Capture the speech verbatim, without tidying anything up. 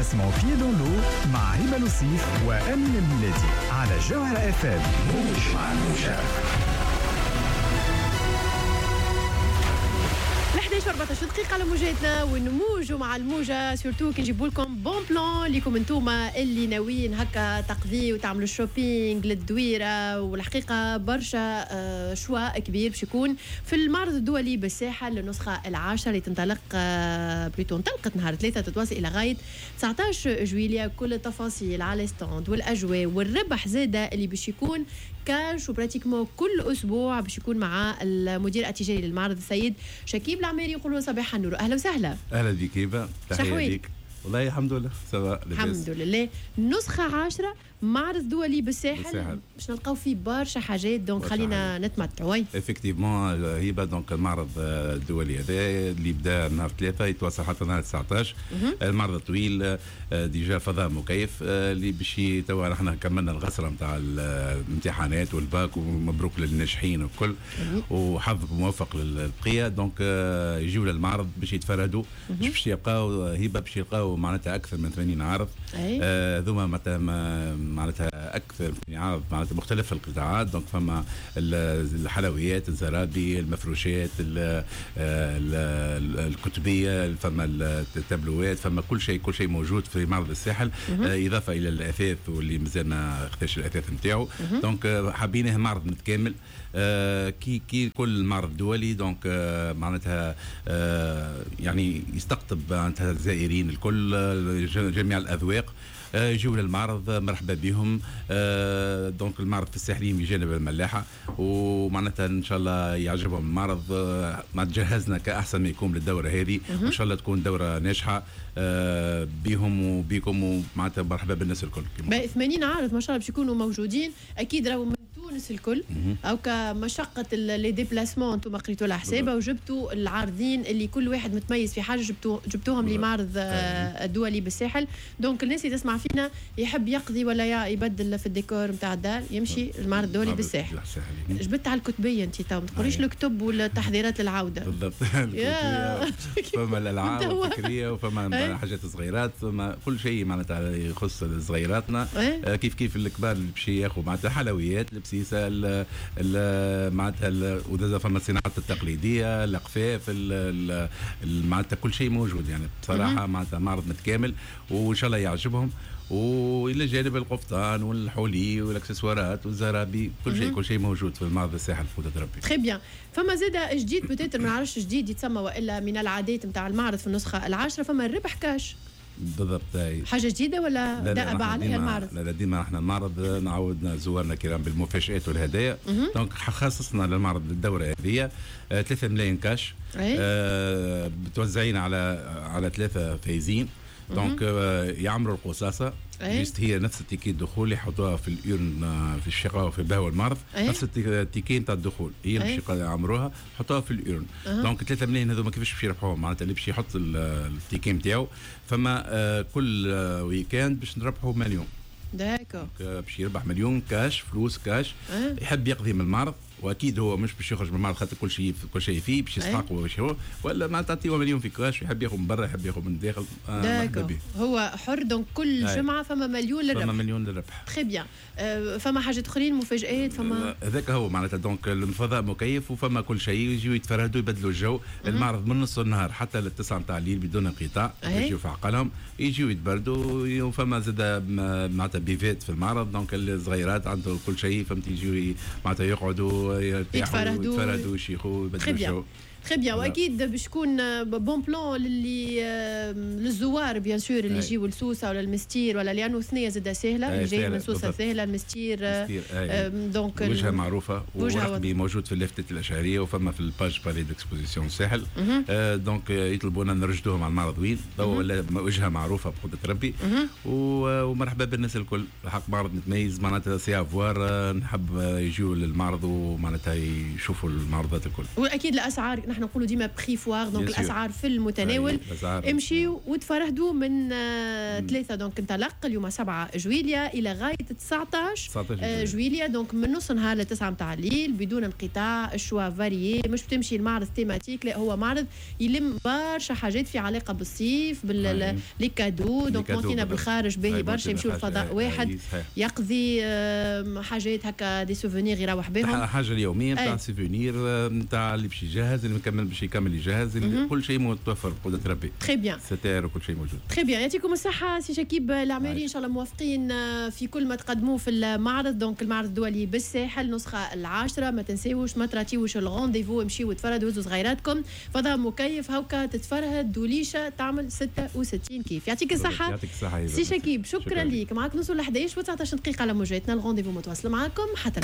تسمعوا Pieds dans l'eau مع هبه لوصيف وامين الميلادي على جوهرة اف ام. موج مع الموجة. احداش وأربعطاش دقيقة على موجاتنا ونموجوا مع الموجة، surtout كي نجيبوا لكم bon plan ليكم انتوما اللي ناويين هكا تقضي وتعملوا shopping للدويرة. والحقيقة برشا choix كبير باش يكون في المعرض الدولي بالساحل للنسخة العاشرة اللي تنطلق plutôt انطلقت نهار ثلاثة تتواصل إلى غاية تسعطاش جويلية. كل التفاصيل على stand والأجواء والربح زادة اللي باش يكون cash و pratiquement كل أسبوع باش يكون مع المدير التجاري للمعرض السيد شكيب العماري. يقولوا صباح النور، اهلا وسهلا. اهلا بك هبه، تحية ليك. والله الحمد لله ça va، الحمد لله. نسخه عاشره معرض دولي بالساحل باش نلقاو فيه برشا حاجات، donc خلينا نتمتعوا. oui effectivement هبه، donc المعرض الدولي هذا اللي بدا نهار ثلاثة يتواصل حتى نهار تسعطاش. المعرض طويل déjà فضاء مكيف اللي باش توا نحن كملنا الغسره نتاع الامتحانات والباك، ومبروك للناجحين والكل وحظ موفق للبقيه. donc يجيو للمعرض باش يتفردوا، مش باش يلقاو هبه، باش يلقاو معناتها اكثر من ثمانين عرض. هذوما معناتها معناتها اكثر من عرض معناتها مختلف القطاعات. donc فما الحلويات، الزرابي، المفروشات، ال ال الكتبيه، فما التابلوات، فما كل شيء، كل شيء موجود في معرض الساحل، اضافه الى الاثاث واللي مازال ما خداش الاثاث نتاعو. donc حابينه معرض متكامل كي كي كل معرض دولي. donc معناتها يعني يستقطب معناتها الزائرين الكل، جميع الاذواق يجيو للمعرض، مرحبا بهم. donc المعرض في الساحلين بجانب الملاحة، ومعناتها ان شاء الله يعجبهم المعرض. ما تجهزنا كاحسن ما يكون للدورة هذه، وان شاء الله تكون دوره ناجحة بهم وبكم، ومعناتها مرحبا بالناس الكل. ثمانين عارض ما شاء الله باش يكونوا موجودين، اكيد راهو من تونس الكل او كمشقه les déplacements انتم قريتوا لها حسابها وجبتوا العارضين اللي كل واحد متميز في حاجة، جبتوا جبتوهم لمعرض الدولي بالساحل. donc الناس اللي تسمع فينا يحب يقضي ولا يبدل في الديكور نتاع الدار يمشي المعرض الدولي بالساحل. جبت على الكتبيه انت تو ما تقوليش الكتب والتحضيرات للعودة. بالضبط. فما الالعاب الفكرية وفما حاجات صغيرات، فما كل شيء معناتها يخص صغيراتنا. كيف كيف الكبار اللي باش ياخذوا معناتها حلويات، البسيسه، معناتها وزاد فما الصناعات التقليدية، القفاف، معناتها كل شيء موجود. يعني بصراحة معناتها معرض متكامل وان شاء الله يعجبهم. والى جانب القفطان والحولي والاكسسوارات والزرابي، كل شيء كل شيء موجود في المعرض الساحل بقدرة ربي. très bien. فما زاد جديد peut-être ما نعرفش جديد يتسمى والا من العادات نتاع المعرض في النسخة العاشرة، فما الربح كاش. بالضبط. حاجة جديدة ولا دأب عليها المعرض؟ لا لا، ديما احنا المعرض نعودنا زوارنا الكرام بالمفاجآت والهدايا. donc خصصنا للمعرض الدورة هذه ثلاثة ملايين كاش آه متوزعين على على ثلاثة فايزين. donc يعمروا القصاصه juste هي نفس ال ticket الدخول اللي يحطوها في ال urne في الشقة وفي بهو المعرض، نفس ال ticket نتاع الدخول هي اللي باش يعمروها يحطوها في ال urne. donc ثلاثة ملايين هذوما كيفاش باش يربحوهم؟ معناتها اللي باش يحط ال ticket نتاعو فما كل week-end باش نربحوا مليون. d'accord. باش يربح مليون كاش، فلوس كاش. أه. يحب يقضي من المعرض، واكيد هو مش باش يخرج من المعرض خاطر كل شيء كل شيء فيه باش يستحقه باش هو ولا ما تعطيه مليون في كاش، يحب ياخذ من برا، يحب ياخذ من الداخل. آه هو حر. donc كل أي. جمعه فما مليون للربح. فما مليون للربح. très bien. أه فما حاجات اخرين، مفاجآت فما؟ هذاك هو معناتها. donc الفضاء مكيف وفما كل شيء، يجيو يتفرهدوا يبدلوا الجو. المعرض من نص النهار حتى للتسعة نتاع الليل بدون انقطاع، يجيو في عقلهم، يجيو يتبردوا. وفما زاد معناتها buvette في المعرض، donc الصغيرات عندهم كل شيء، فهمت، يجيو معناتها يقعدوا يتفرهدوا يتفرهدوا يشيخوا يبدلوا الجو. très bien. واكيد باش يكون bon plan للي للزوار bien sûr اللي يجيو لسوسه ولا المستير ولا، لانه ثنيه زاده سهلة، اللي جاي من سوسة سهلة، المستير donc وجهه معروفة ورقمي موجود في اللافتات الاشهريه وفما في ال page palais d'exposition الساحل. donc يطلبونا نرشدوهم على المعرض وين ولا وجهه معروفة بقدره ربي. ومرحبا بالناس الكل، الحق معرض متميز معناتها c'est à voir. نحب يجيو للمعرض ومعناتها يشوفوا المعروضات الكل. واكيد الاسعار نحن نقولوا ديما prix foire، donc الاسعار في المتناول. امشيوا وتفرهدوا من آه، ثلاثة donc انطلق اليوم سبعة جويليا الى غاية تسعطاش آه، جويليا، donc من نص نهار ل تسعة نتاع الليل بدون انقطاع. ال choix varié، مش بتمشي المعرض thématique، لا، هو معرض يلم برشا حاجات في علاقة بالصيف، بال les cadeaux، donc مونتينا بالخارج باهي برشا، يمشيو الفضاء واحد يقضي حاجات هكا des souvenirs يروح بهم. حاجة اليومية نتاع souvenir، نتاع اللي باش يجهز، اللي مكمل باش يكمل يجهز، كل شيء متوفر بقدره ربي. très bien. ستائر وكل شيء موجود. très bien، يعطيكم الصحة سي شكيب العماري، ان شاء الله موفقين في كل ما تقدموه في المعرض، donc المعرض الدولي بالساحل النسخة العاشره. ما تنساوش، ما تراتيوش ال rendez-vous، امشيو وتفرهدوا، هزوا صغيراتكم، فضاء مكيف هوكا تتفرهد دوليشه تعمل ستة وستين كيف. يعطيك الصحة. يعطيك الصحه. سي شكيب، شكرا, شكرا ليك. معاك نوصل ل حداش وتسعطاش دقيقة على موجاتنا، ال rendez-vous متواصل معاكم حتى